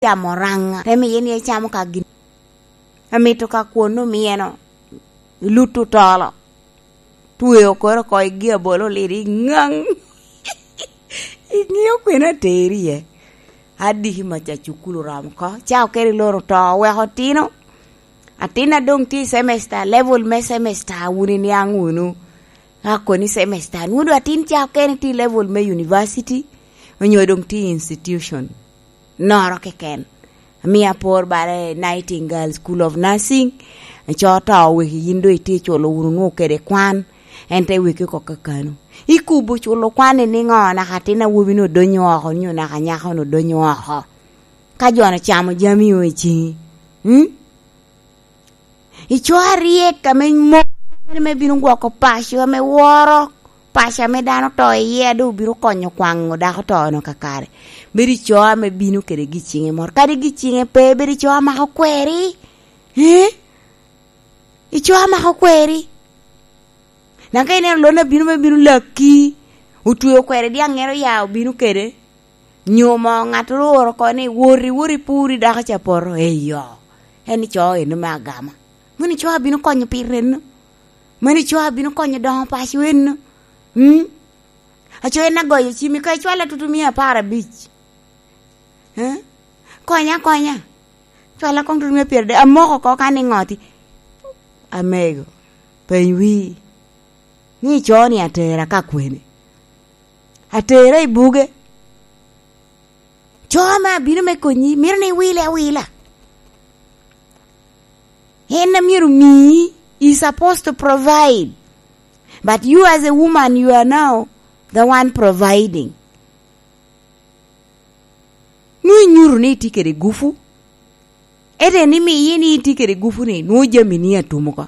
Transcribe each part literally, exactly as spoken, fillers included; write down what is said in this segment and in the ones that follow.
camo raŋa, te miye ni ecamo ka gin. Amito ka kwon omyeno, iluto tolo, tweo kore oko i gi abolo oliro i ŋaŋ. Iŋeo kwene ateri iye? Adiki maca cukulu oromo oko, ca okene i loro to, oweko otino. Atin a doŋ tye i semester, level me semester, wun iniaŋ wunu. Ka koni semester, nwodo atin ca okene tye i level me university, onyo doŋ tye i institution noro keken. Amio apor bala i Nightingale School of Nursing, co to oweki yin doŋ itye culo wunu nwoŋo kede kwan, en te weki oko kakano. Ikubo culo kwan i niŋo naka atin awobi-nu odonyo oko, nyo naka nyako-nu odonyo oko? Ka jo-nu ocamo jami o i ciŋi, mm? Ico aryek ame moko ame bino gwoko paco, ame woro paco ame dano oto iye, a doŋ obino konyo kwaŋo dako oto-nu kakare. Bedo ico ame bino kede gi ciŋe moro. Kadi gi ciŋe pe, bedo ico amako kweri. Eh? Ico amako kweri. Dok ka ineno lon abino me bino laki, otweo kweri diaŋŋere oya obino kede, nyo mo ŋattoro ooro oko ni, "Woti, woti puri dako ca poto." Eyo, en ico eno me agama. Mano ico abino konyo pire eno. Mano ico abino konyo doŋo paco eno. Mm? Aco en agoyo cimi, ka icwala tutu mia apar abic. Eh? Konya, konya. Cwala koŋ tutu mia pyerade. Amoko oko ka ni ŋoti. Amego, peny wii. Ni ico ni atera ka kwene? Atera i buge. Co ame abino me konyi, mito ni iwile awila. En a myero omii, is supposed to provide. But you as a woman, you are now the one providing. Nwoŋo inyuto ni itye kede gupu. Ete ni miye ni itye kede gupu ni, nwoŋo jami ni atum oko.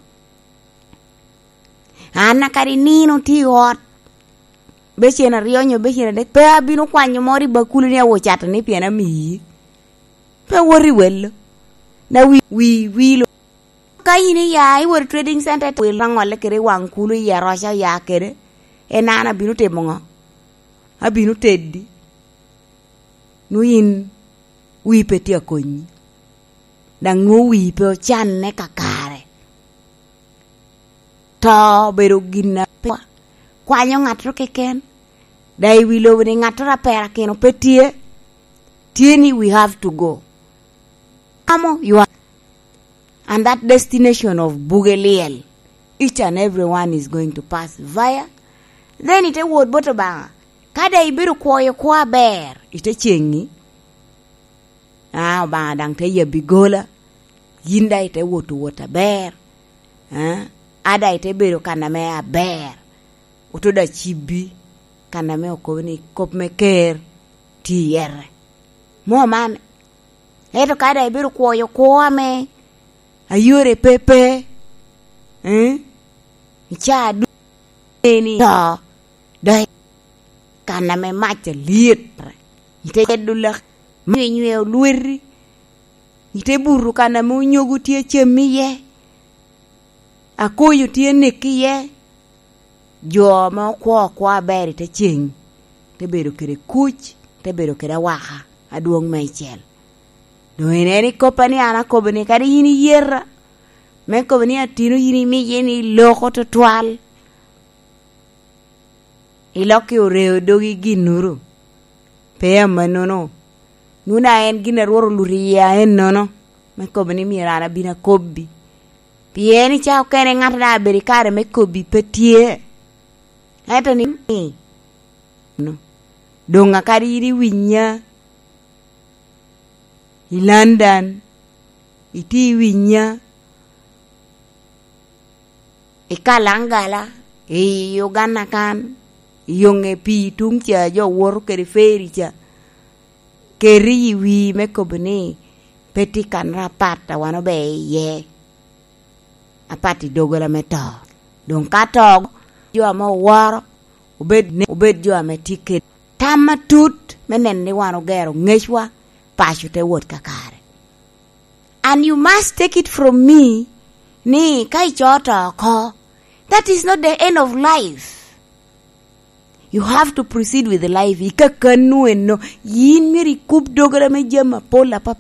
An a kadi nino tye i ot, becen aryo nyo becen adek, pe abino kwanyo moro i bakulu ni awo cato ni pien amiyi. Pe wot i welo. Na wi, wi, wi lo. Ka in iya, iwot i trading center, wil aŋolle kede i waŋ kulu, i aroca oya kede, en an abino timo ŋo? Abino teddi. Nwoŋo in wii pe tye akonyi. Daŋ nwoŋo wii pe ocanne kakare. To obedo gin a pe kwanyo ŋattoro keken. Daŋ i wi lobo ni ŋattoro a perakino pe tye. Tye ni we have to go. Amo ywa. And that destination of buge lyel, each and everyone is going to pass via. Then ite wot bot Obaŋa. Ka daŋ ibedo kwoyo kwo aber, ite ceŋi. Ah, Obaŋa daŋ te yabbi gola. Yin daŋ ite woto wot aber. Ah, a daŋ ite bedo kan ame aber. Oto daŋ cibbi kan ame okobo ni kop me ker tye i yere. Mo man. Ento ka daŋ ibedo kwoyo kwo ame ayore pe pe, eh? Icaa ducu ni to, daŋ kan ame mac alyet, ite cedo lak, ma inyweo lweti, ite buto kan ame onyogo tye cem iye, akoyo tye nek iye, jo ame okwo okwo aber i te ceŋ, te bedo kede kuc, te bedo kede awaka adwoŋ meicel. Doŋ en, en ikoppa ni an akobo ni kadi yin iyeta, me kobo ni atino yin imiye ni loko tutwal, ilokke oreo dogi ginnoro. Pe amannono. Nwoŋo daŋ en gin a Rwot oluto iye aennono, me kobo ni myero an abin akobbi. Pien i cawa okene ŋat daŋ abedo i kare me kobbi pe tye. Ento ni, doŋ akadi yin iwinya i London, itye iwinya i Kalangala, i Uganda kan, i yoŋe pii tuŋ ca, jo woto kede feri ca, keri i wii me kobo ni pe tye kanoro apat a wan obe iye, apat i doggola me to. Doŋ ka to, jo ame oworo, obed ne, obed jo ame tye kede tam matut me neno ni wan ogero ŋecwa, paco te wot kakare. And you must take it from me ni ka ico to oko, that is not the end of life. You have to proceed with life. I kakannu eno, yin myero ikub dogere me jami apol apapat.